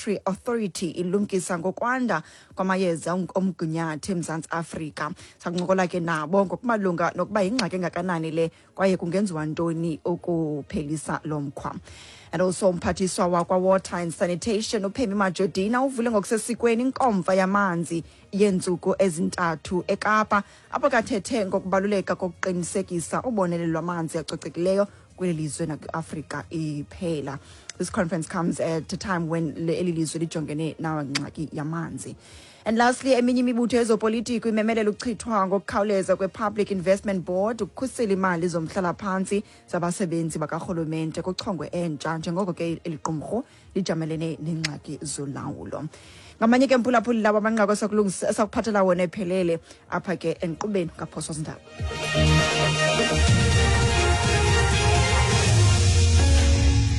Regulatory Authority ilumkisa ngokwanda kwamayeza omgunyathi eMzantsi Afrika. Sakuncokola ke nabo ngokumalunga nokuba yingxaki engakanani le kwaye kungenziwa ntoni ukuphelisa lo mkhwa. And also umphathiswa wakwa-Water and Sanitation uPhemi Majodina uvule ngokusesikweni inkomfa yamanzi yeentsuku ezintathu eKapa, apho kathethe ngokubaluleka kokuqinisekisa ubonelelo lwamanzi acocekileyo kweli lizwe nakwi-Afrika iphela. This conference comes at a time when eli lizwe lijongene nangxaki yamanzi. And lastly, eminye imibutho yezopolitiko imemelela ukuchithwa ngokukhawuleza kwe-Public Investment Board ukukhusela imali zomhlalaphantsi zabasebenzi bakarhulumente kuchongwe entsha, njengoko ke eli qumrhu lijamelene neengxaki zolawulo. Ngamanye ke, mphulaphuli, lawo amanqaku esakuphathela wona ephelele apha ke enkqubeni kaPhoswa Zindaba.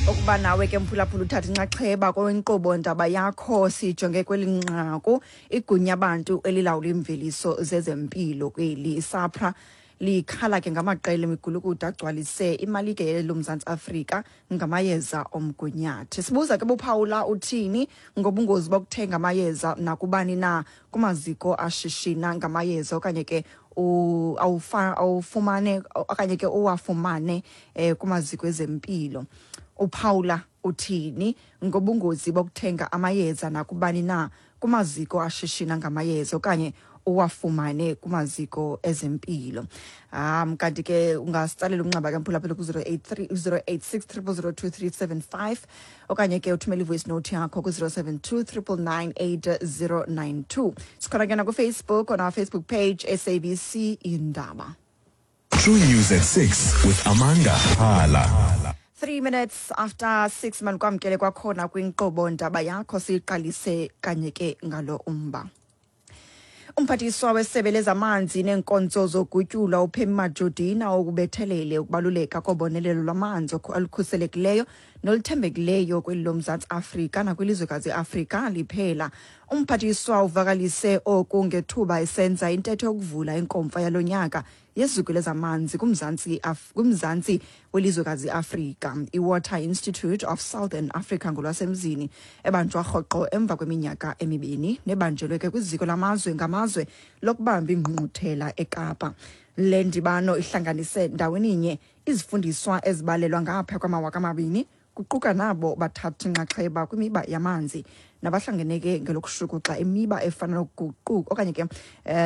Ukuba nawe ke, mphulaphula, uthatha inxaxheba kwinkqubo ndaba yakho, sijonge kweli nqaku: igunya bantu elilawula iimveliso zezempilo kweli, iSAHPRA, likhala ke ngamaqela emigulukudu agcwalise imalike loMzantsi Afrika ngamayeza omgunyathi. Sibuza ke, buphawula uthini ngobungozi bokuthenga amayeza nakubani na kumaziko ashishina ngamayeza, okanye ke awufumane okanye ke uwafumane kumaziko ezempilo? Uphawula uthini ngobungozi bokuthenga amayeza nakubani na kumaziko ashishina ngamayeza okanye uwafumane kumaziko ezempilo? Kanti ke ungasitsalela umnxeba ke, mphulaphula, ku-083 086 0002375, okanye ke uthumele i-voice note yakho ku-072 999 8092. Sikhona ke nakuFacebook, on our Facebook page, SABC Indaba. True News at 6 with Amanda Hala. 3 minutes after 6, manikwamkele kwakhona kwinkqubo ndaba yakho. Siyiqalise kanye ke ngalo umba. Umphathiswa wesebe lezamanzi neenkonzo zogutyula uPemmy Majodina ukubethelele ukubaluleka kobonelelo lwamanzi olukhuselekileyo noluthembekileyo kweli loMzantsi Afrika nakwilizwekazi iAfrika liphela. Umphathiswa uvakalise oku ngethuba esenza intetho yokuvula inkomfa yalo nyaka yeziko lezamanzi kumzantsi welizwekazi iAfrika, iWater Institute of Southern Africa ngolwasemzini, ebanjwa rhoqo emva kweminyaka emibini nebanjelwe ke kwiziko lamazwe ngamazwe lokubamba ingqungquthela eKapa. Le ndibano ihlanganise ndaweninye izifundiswa ezibalelwa ngapha kwama-2000, kuquka nabo bathatha inxaxheba kwimiba yamanzi nabahlangeneke ngelokushukuxa imiba efana nokuguquka okanye ke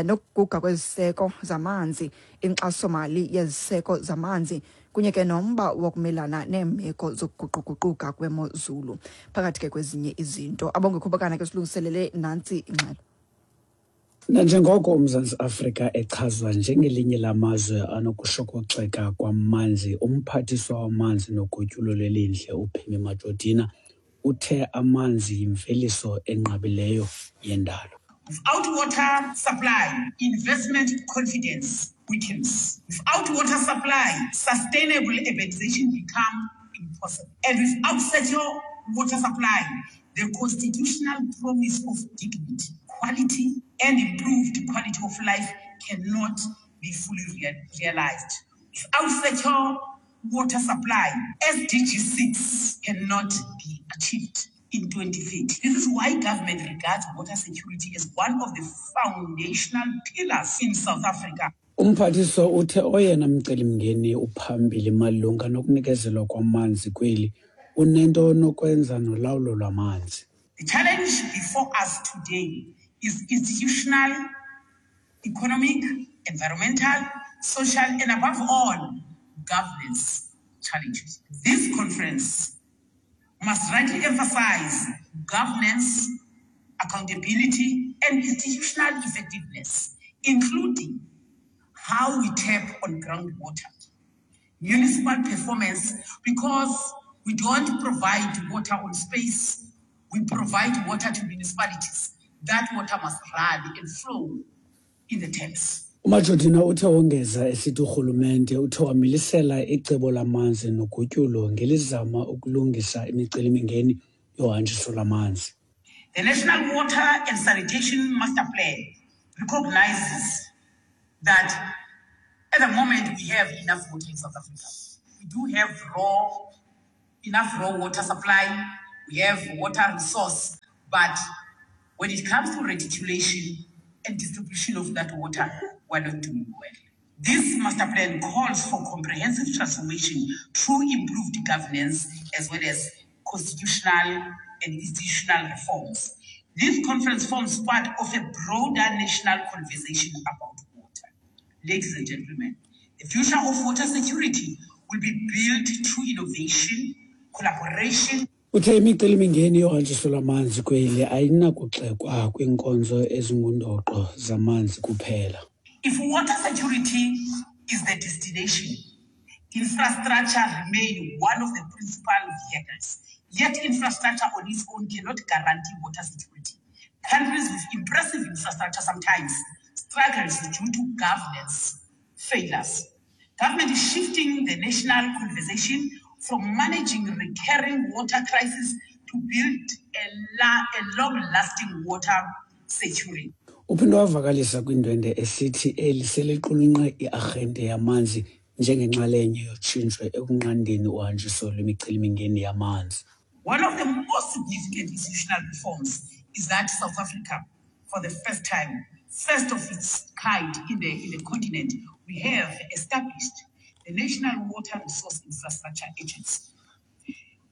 nokuguga kweziseko zamanzi, inkxasomali yeziseko zamanzi, kunye ke nomba wokumelana neemeko zokuguquguquka kwemozulu, phakathi ke kwezinye izinto. Abongekho Bokana ke silungiselele nantsi ingxelo. Nanjengoko uMzantsi Afrika echazwa njengelinye lamazwe anokushokoxeka kwamanzi, uMphathiswa waManzi noGutyulo lweLindle uPemmy Majodina uthe amanzi yimveliso enqabileyo yendalo. Without water supply, investment confidence weakens. Without water supply, sustainable urbanization become impossible. And without secure water supply, the constitutional promise of dignity, quality, and improved quality of life cannot be fully realized. Without secure water supply, SDG 6 cannot be achieved in 2030. This is why government regards water security as one of the foundational pillars in South Africa. Umphathiswa uthe oyena mcelimngeni uphambili malunga nokunikezelwa kwamanzi kweli unento nokwenza nolawulo lwamanzi. The challenge before us today is institutional, economic, environmental, social, and above all, governance challenges. This conference must rightly emphasize governance, accountability, and institutional effectiveness, including how we tap on groundwater, municipal performance, because we don't provide water on space, we provide water to municipalities. That water must run and flow in the taps. UMajodina uthe wongeza esithi urhulumente uthe wamilisela icebo lamanzi nogutyulo ngelizama ukulungisa imicelimingeni yohanjiso lwamanzi. The National Water and Sanitation Master Plan recognizes that at the moment we have enough water in South Africa. We do have enough raw water supply. We have water resource. But when it comes to reticulation and distribution of that water, we're not doing well. This master plan calls for comprehensive transformation through improved governance as well as constitutional and institutional reforms. This conference forms part of a broader national conversation about water. Ladies and gentlemen, the future of water security will be built through innovation, collaboration, Uthe imicelimingeni yohanjiso lwamanzi kweli ayinakuxekwa kwiinkonzo ezingundoqo zamanzi kuphela. If water security is the destination, infrastructure remain one of the principal vehicles. Yet infrastructure on its own cannot guarantee water security. Countries with impressive infrastructure sometimes struggles due to governance failures. Government is shifting the national conversation from managing recurring water crisis to build a, la- a long-lasting water security. Uphinde wavakalisa kwindwendwe esithi eli seliqulunqe iarhente yamanzi njengenxalenye yotshintsho ekunqandeni uhanjiso lwemicelimingeni yamanzi. One of the most significant institutional reforms is that South Africa, for the first time, first of its kind in the, in the continent, we have established the National Water Resource Infrastructure Agency,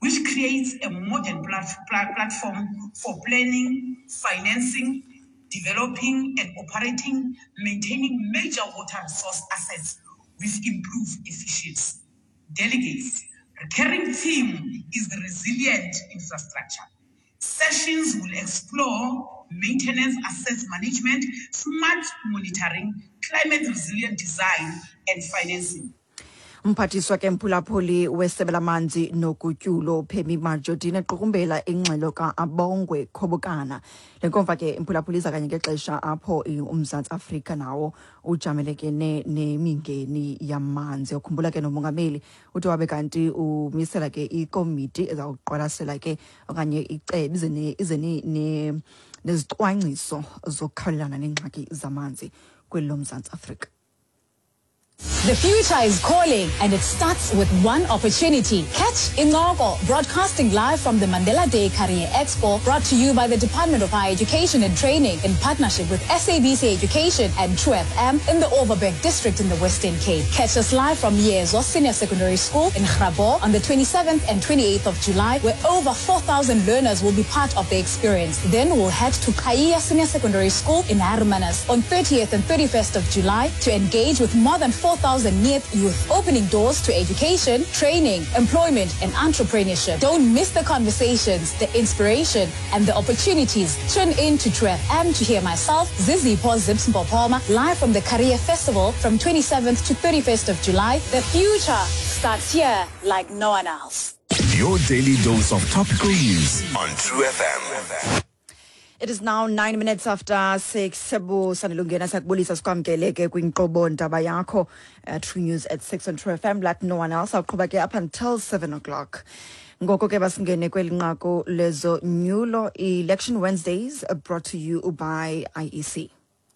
which creates a modern plat- platform for planning, financing, developing and operating, maintaining major water resource assets with improved efficiency. Delegates, recurring theme is the resilient infrastructure. Sessions will explore maintenance, assets management, smart monitoring, climate resilient design, and financing. Umphathiswa ke mphulaphuli wesebe lamanzi nogutyulo Phemi Majodina equkumbela ingxelo ka-Abongwe Khobokana. Le nkomfa ke mphulaphuli iza kanye ngexesha apho uMzantsi Afrika nawo ujamelekene nemingeni yamanzi. Ukhumbula ke nomongameli uthi wabe kanti umisela ke ikomiti ezawuqwalasela ke okanye icebe ize ize nezicwangciso zokukhawulelana neengxaki zamanzi kweli loMzantsi Afrika. The future is calling and it starts with one opportunity. Catch Incoko, broadcasting live from the Mandela Day Career Expo, brought to you by the Department of Higher Education and Training in partnership with SABC Education and True FM in the Overberg District in the Western Cape. Catch us live from Yezo Senior Secondary School in Grabo on the 27th and 28th of July, where over 4,000 learners will be part of the experience. Then we'll head to Kaya Senior Secondary School in Hermanus on 30th and 31st of July to engage with more than 4,000 NEET youth, opening doors to education, training, employment, and entrepreneurship. Don't miss the conversations, the inspiration, and the opportunities. Tune in to True FM to hear myself, Zizi Zips Mpopoma, live from the Career Festival from 27th to 31st of July. The future starts here like no one else. Your daily dose of topical news on True FM. It is now 9 minutes after 6. Sanilungena sakubulisa sikwamkele ke kwinkqubo ndaba yakho True News at 6 on True FM like no one else. Awuqhuba ke up until 7 o'clock. Ngoko ke basingene kweli nqaku lezonyulo. Election Wednesdays brought to you by IEC.